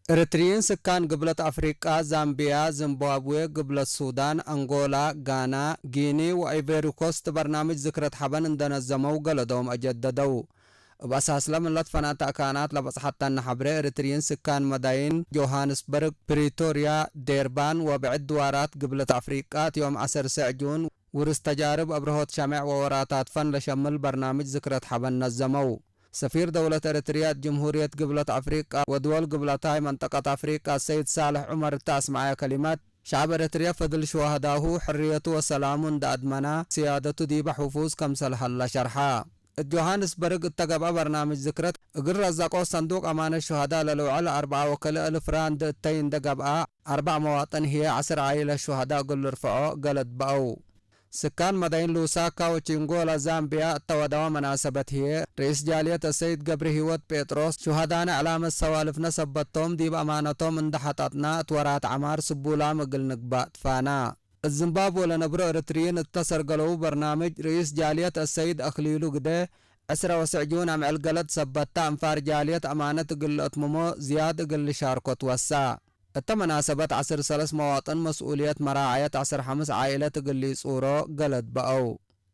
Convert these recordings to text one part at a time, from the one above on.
ኤርትርይን ስካን ግብለት ኣፍሪቃ፣ ዛምቢያ፣ ዚምባብዌ፣ ግብለት ሱዳን፣ ኣንጎላ፣ ጋና፣ ጊኒ ወኣይቨሪ ኮስት በርናምጅ ዝክረት ሓበን እንደነዘመው ገለዶም ኣጀደደው። እብ ኣሳስለ ምለት ፈናተ ኣካናት ለበጽሐተን ሐብሬ፣ ኤርትርይን ስካን መዳይን ጆሃንስበርግ፣ ፕሪቶርያ፣ ዴርባን ወብዕድ ድዋራት ግብለት ኣፍሪቃ፣ እት ዮም ዐሰርሰዕ ጁን ውርስ ተጃርብ አብርሆት ሸሜዕ ወወራታት ፈን ለሸምል በርናምጅ ዝክረት ሐበን ነዘመው። ሰፊር ደውለት ኤርትርያ እት ጅምሁርየት ግብለት አፍሪቃ ወድወል ግብለታይ መንጠቀት አፍሪቃ ሰይድ ሳልሕ ዑመር እተ አስመዐ ከሊመት፣ ሸዕብ ኤርትርያ ፈድል ሸዋህዳሁ ሕርየቱ ወሰላሙ እንደ አድመና፣ ስያደቱ ዲበ ሕፉዝ ከምሰል ሀላ ሸርሓ። እት ጆሃንስበርግ እተ ገብአ በርናምጅ ዝክረት፣ እግል ረዘቆ ሰንዱቅ አማነት ሸሃዳ ለልውዕል አርብዓ ወክልእ እልፍ ራንድ እተይ እንደ ገብአ፣ አርባዕ መዋጥን ህዬ ዐስር ዓኢለት ሸሃዳ እግል ልርፍዖ ገለድ በአው። ስካን መዳይን ሉሳካ ወቺንጎላ ዛምቢያ እተ ወደዋ መናሰበት ህዬ፣ ርኢስ ጃልየት አሰይድ ገብረ ህይወት ጴጥሮስ፣ ሸሃዳነ ዕላመት ሰዋልፍነ ሰበቶም ዲብ አማነቶም እንደ ሐጠጥና፣ እት ወራት ዐማር ስቡላም እግል ንግባእ ትፋና። እት ዝምባብወ ለነብሮ ኤርትርይን እተ ሰርገለው በርናምጅ፣ ርኢስ ጃልየት አሰይድ አክሊሉ ግደ፣ ዕስረ ወስዕ ጁን አምዕል ገለድ ሰበታ፣ እንፋር ጃልየት አማነት እግል ለአትምሞ ዝያድ እግል ልሻርኮ ትወሳ። እተ መናሰበት ዐስር ሰለስ መዋጥን መስኡልየት መራዐየት ዐስር ሐምስ ዓኢለት እግል ሊጹሮ ገለድ በአው።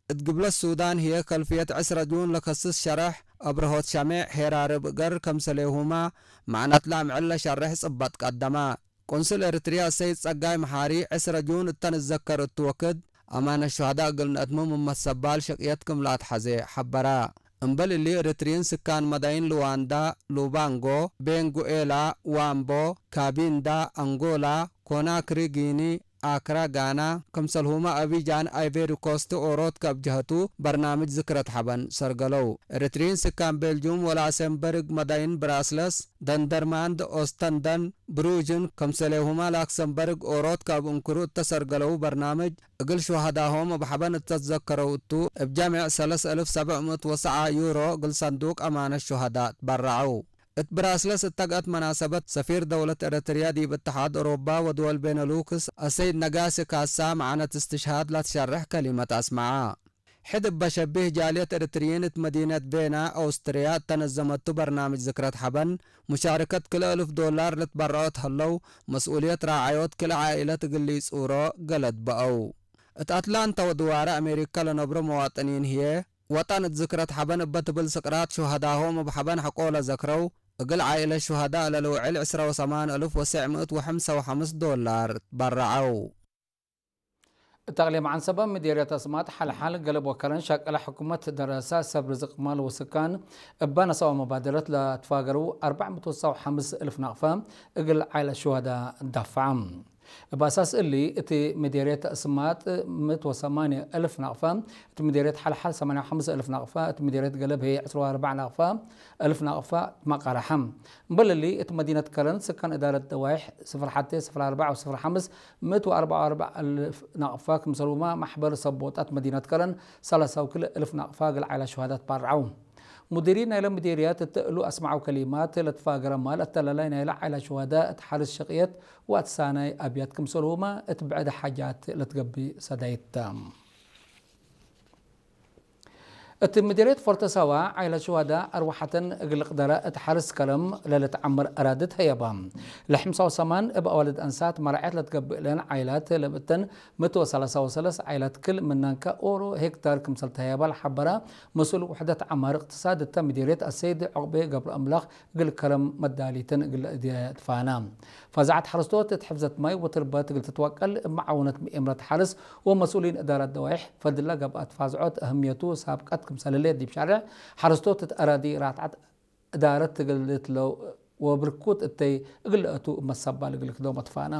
እት ግብለት ሱዳን ህዬ ከልፍየት ዕስረ ጁን ለከስስ ሸረሕ አብርሆት ሸሜዕ ሄራርብ እገር ከምሰሌሁማ፣ መዕነትለ አምዕል ለሸርሕ ጽበጥ ቀደማ። ቁንስል ኤርትርያ ሰይድ ጸጋይ መሓሪ፣ ዕስረ ጁን እተ ንዘከር እቱ ወክድ፣ አማነት ሸሃዳ እግል ነአትምም እመት ሰባል ሸቅየት ክም ለአትሐዜ ሐበራ። እምበል እሊ፣ ኤርትርይን ስካን መዳይን ሉዋንዳ፣ ሉባንጎ፣ ቤንጉኤላ፣ ዋምቦ፣ ካቢንዳ፣ አንጎላ፣ ኮናክሪ፣ ጊኒ፣ አክራ፣ ጋና፣ ክምሰልሁመ አቢጃን፣ አይቬሪ ኮስት፣ ኦሮት ከብጀሀቱ በርናምጅ ዝክረት ሐበን ሰርገለው። ኤርትርይን ስካን ቤልጁም ወላሰንበርግ መዳይን ብራስለስ፣ ደንደርማንድ፣ ኦስተንደን፣ ብሩጅን፣ ከምሰሌሁማ ላክሰንበርግ ኦሮት ካብ እንክሩ እተሰርገለው በርናምጅ፣ እግል ሹሃዳሆም እብ ሐበን እተትዘከረው እቱ፣ እብ ጀሚዕ ሰለስ እልፍ ሰብዕ ምእት ወሰዓ ዩሮ እግል ሰንዱቅ አማነት ሹሃዳ ትበረዐው። እት ብራስለስ እተግአት መናሰበት፣ ሰፊር ደውለት ኤረትርያ ዲብ እተሓድ ኦሮባ ወድወል ቤነሉክስ አሰይድ ነጋሲ ካሳ፣ መዕነት እስትሽሃድ ለትሸርሕ ከሊመት አስመዓ። ሕድ እበ ሸቢህ ጃልየት ኤርትርይን እት መዲነት ቬና፣ ኦስትርያ፣ እተ ነዘመቱ በርናምጅ ዝክረት ሐበን፣ ሙሻርከት ክልኤ እልፍ ዶላር ልትበረዖት ሀለው፣ መስኡልየት ራዓዮት ክልኤ ዓኢለት እግል ሊጹሮ ገለድ በአው። እት አትላንታ ወድዋረ አሜሪካ ለነብሮ መዋጥኒን ህዬ፣ ወጠን እት ዝክረት ሐበን እበ ትብል ስቅራት ሹሀዳሆም እብ ሐበን ሐቆ ለዘክረው፣ እግል ዓኢለት ሹሀዳእ ለልውዕል ዕስረ ወሰማን እልፍ ወሰዕ ምእት ወሐምሳ ወሐምስ ዶላር በረዐው። እት አቅሊም ዐንሰበ ምዴርየት አስማጥ ሐልሐል ገለብ ወከረን ሸቅለ ሕኩመት ደረሰ ሰብ ርዝቅ ማል ወስካን እበ ነሰኦ መባደረት ለትፋገረው አርባዕ ምእት ወሰው ሐምስ እልፍ ናቅፈ እግል ዓይለት ሹሀዳ ዳፈዐ። እብ አሳስ እሊ፣ እት ምዴርየት አስማጥ ምእት ወሰማንየ እልፍ ናቅፈ፣ እት ምዴርየት ሐልሐል ሰማንየ ወሐምስ እልፍ ናቅፈ፣ እት ምዴርየት ገለብ ህዬ ዕስራ ወአርባዕ ናቅፈ እልፍ ናቅፈ መቃረሐ። እምበል እሊ፣ እት መዲነት ከረን ስካን እዳረት ደዋይሕ ስፍር ሐቴ፣ ስፍር አርባዕ ወስፍር ሐምስ ምእት ወአርባዕ ወአርባዕ እልፍ ናቅፋ ክምሰልሁመ ማሕበር ሰብ ቦጣት መዲነት ከረን ሰላሳ ወክልኤ እልፍ ናቅፋ እግል ዓይላት ሹሃዳት ባርዐው። ሙዲሪን ናይለ ምዴርያት እት እሉ አስመዐው ከሊማት፣ ለትፋገረ ማል አተላላይ ናይለ ዓይላት ሹሃዳ እት ሐርስ ሸቅየት ወአትሳናይ አብያት ክምሰልሁመ እት ብዕድ ሓጃት ለትገብእ ሰዳይት ተ። እት ምዴርየት ፎርተሳዋ፣ ዓይላት ሹሃዳ አርወሐተን እግል ቅደረ እት ሐርስ ከረም ለልትዐምር አራድት ህየባ። ለሐምሳ ወሰማን እብ አዋልድ አንሳት መራዐት ለትገብእለን ዓይላት ለብእተን ምእት ወሰላሳ ወሰለስ ዓይላት ክል ምናን ከኦሮ ሄክታር ክምሰል ተህየባ ለሐበራ መስኡል ውሕደት ዐማር እቅትሳድ እተ ምዴርየት አሰይድ ዑቅቤ ገብረአምላክ እግል ከረም መዳሊትን እግል እድየ ትፋና። ፋዛዐት ሐረስቶት እት ሕፍዘት ማይ ወትርበት እግል ትትወቀል እብ መዓውነት ምኤምረት ሐርስ ወመስኡሊን እዳረት ደዋይሕ ፈድለ ገብአት ፋዝዖት አህምየቱ ሳብቀት ክምሰልለ ዲብ ሻርዕ ሐረስቶት እት አራዲ ራትዓት እዳረት እግል ልትለው ወብርኩት እተይ እግል ለአቱ እመት ሰባል እግል ክዶሞ ትፋና።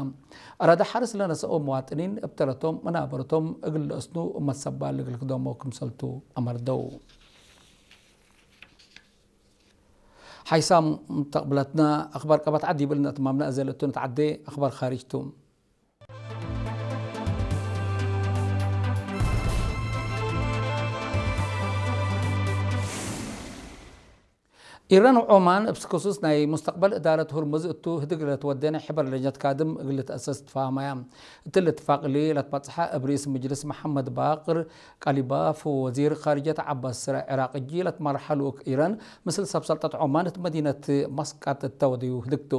አራዲ ሐርስ ለነሰኦ መዋጥኒን እብ ተረቶም መናበረቶም እግል ለአስኑ እመት ሰባል እግል ክዶሞ ክምሰልቱ አመርደው። ሓይሳም ተቅብለትና አኽባር ቀባት ዓዲ ይብል ነትማምና እዘ ለእቱ ነትዓዴ አኽባር ኻሪጅ ቱ። ኢራን ወዖማን እብ ክሱስ ናይ ሙስተቅበል እዳረት ሁርሙዝ እቱ ህድግ ለትወዴ ናይ ሕበር ለጀት ካድም እግል ልትአሰስ ትፋሃማያ። እት ልትፋቅ እሊ ለትበጽሐ እብ ርኢስ ምጅልስ መሐመድ ባቅር ቃሊባፍ ወወዚር ካርጀት ዐባስ ስረ ዕራቅ እጂ ለትመርሐ ልኡክ ኢራን፣ ምስል ሰብ ሰልጠት ዖማን እት መዲነት መስቃጥ እተ ወደዩ ህድግቱ።